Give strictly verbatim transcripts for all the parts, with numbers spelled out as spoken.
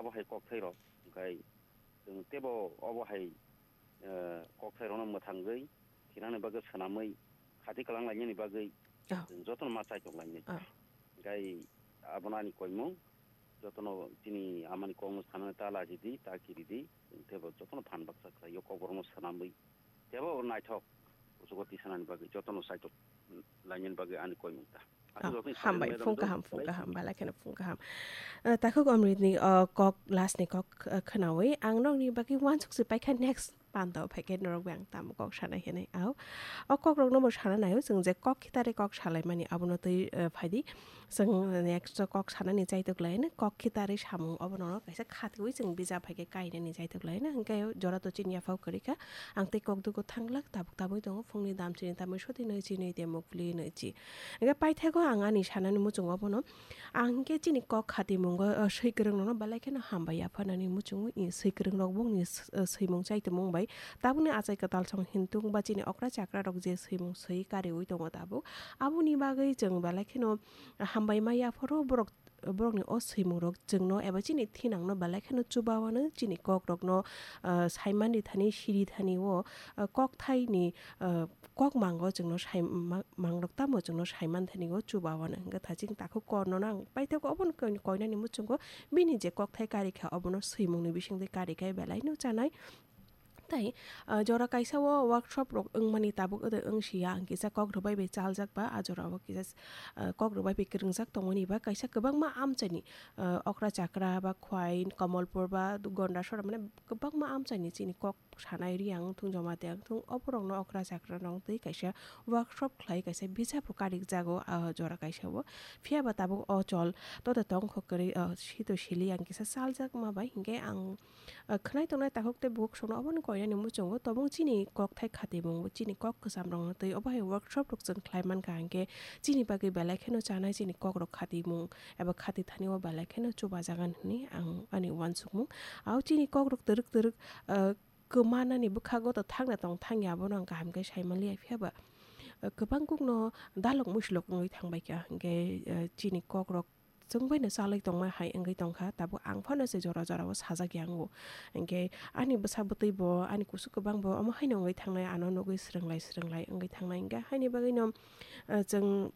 Bo hai kokthai rok, hwnkhe chwng teibo obo hai, eh, kokthai rokno mwthangwi thinani bagwi swnamwi khati kwlang lainani bagwi Oh. chwng jotono ma chaitok lainai. Oh. Hwnkhe abono ani koimung, jotono chini amani kokno sanani ta lachidi, ta kiridi, chwng teibo jotono phan baksa khlaio, kokborokno swnamwi. Teibo naithok kuchugo tisanani bagwi, jotono saitok lainani bagwi ani koimung ta. Aswk Oh, rokni hambai, salai phung madam kaham, do, phung kaham, belai kheno phung kaham. Eh, takhuk Omritni, oh, kok, lastni kok, eh, khwnawi ang nokni bagwi uansuk se paikha next panda o phaikhe norok bai ang tamo kok sanai hinwi. Au, o kokrokno bo sana naio chwng je kok khitari kok salaimani abono twi, eh, phaidi. Chwng next o kok sanani chaitok laino, kok khitari samung obono kaisa khatiwi chwng bijap phaikhe kainani chaitok laino. Hwnkhe jora to chini yaphao kwrwikha, ang tei kok dugo thanglak, tabuk tabui tongo, phungni dam chini tamwi soti nwi chi nwi de mukpli nwi chi. Hwnkhe paithago ang ani sanani muchungo bono, ang hwnkhe chini kok khatimungo, o, swi kwrwng rokno belai kheno hambai ya phanani muchungo, i swi kwrwng rok bongni s-, o, swimung chai tongmung bai tabukni achai kwtal song hintung ba chini okra chakra rok je swimung swi kariwi tongo tabuk, aboni bagwi chwng belai kheno hambai ma ya phoro borok, borokni o swimung rok chwngno eba chini thinangno belai kheno chuba wano chini kok rokno, ah, saimani thani siri thani o, ah, kok thaini, ah, kok mango chwngno sai ma-, mangrok tamo chwngno saiman thani o chuba wano hwnkhe thaching takhuk korno nang paithak obono koi-, koinani muchungo bini je kok thai karikha obono swimungni bisingtwi karikha belaino chanai. Tai, ah, jora kaisa o workshop rok wngmani tabuk ode wngsiya, ang kisa kok rwbai bai chaljak ba, a jora o kisa, ah, kok rwbai bai kwrwngjak tongmani ba kaisa kwbangma amchaini, ah, okra chakra ba khwai, Kamalpur ba Gondasora, mane kwbangma amchaini chini kok sanai ri ang thung joma te ang thung oborokno okra chakra rok twi kaisa workshop khlai kaisa bijap rok karik jago, ah, jora kaisa o. Phiya ba tabuk o chol to de tong kho kwrwi, ah, sito sili ang kisa chaljak ma bai hinkhe ang Ah, khwnai tongnai takhuk tei bukhuk songno obono koinani muchungo tobong chini kok thai khatimung, chini kok kwcham rokno twi obo hai workshop rok chwng khlai mankha, hinkhe chini bagwi belai kheno chanai chini kok rok khatimung eba khati thani o belai kheno chubajagan hwnwi ang ani uansukmung. Au chini kok rok twrwk twrwk, ah, kwmanani bwkhago to thangna tong thangya abono ang kaham khe sai manliya, phiya ba, ah, kwbang kukno dalok muislok wngwi thangbai kha, hinkhe, ah, chini kok rok chwng bai no chalwi tongma hai wngwi tongkha, tabuk ang phano se jora jora o sajak ya wngo. Hinkhe ani bwsa bwtwi bo, ani kusu kwbang bo omo haino wngwi thangnai, ano nugwi swrwnglai swrwnglai wngwi thangnai. Hinkhe haini bagwi no, eh, chwng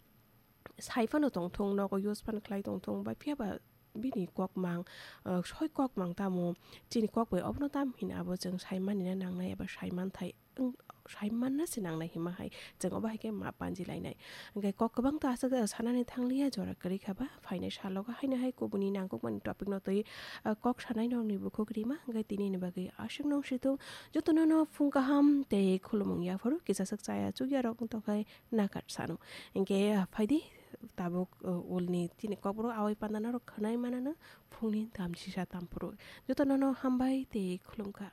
sai phano tongthung, nogo use phano khlai tongthung, ba phiya ba bini kok mang, eh, soi kok mang tamo, chini kok bai obono tam hino abo chwng sai mani na nangnai eba sai manthai. Wng, sai manna se nangnai hima hai, chwng obo hai khe ma panji lainai. Hwnkhe kok kwbang ta aswk sanani thangliya, jora kwrwi kha ba, phainai salogo haino hai kubuni nangkukmani topic no twi, ah, kok sanai nokni bukhuk rima, hwnkhe tini ni bagwi aswk nung situng, jotono no phung kaham tei khulumung yaphuru, kisa swk chaya chukya rok wng tongkhai nakar sano. Hwnkhe phaidi tabuk, ah, ulni tini kokborok awai panda norok khwnai manano phungni dam sisa tamphuru. Jotono no hambai tei khulumkha.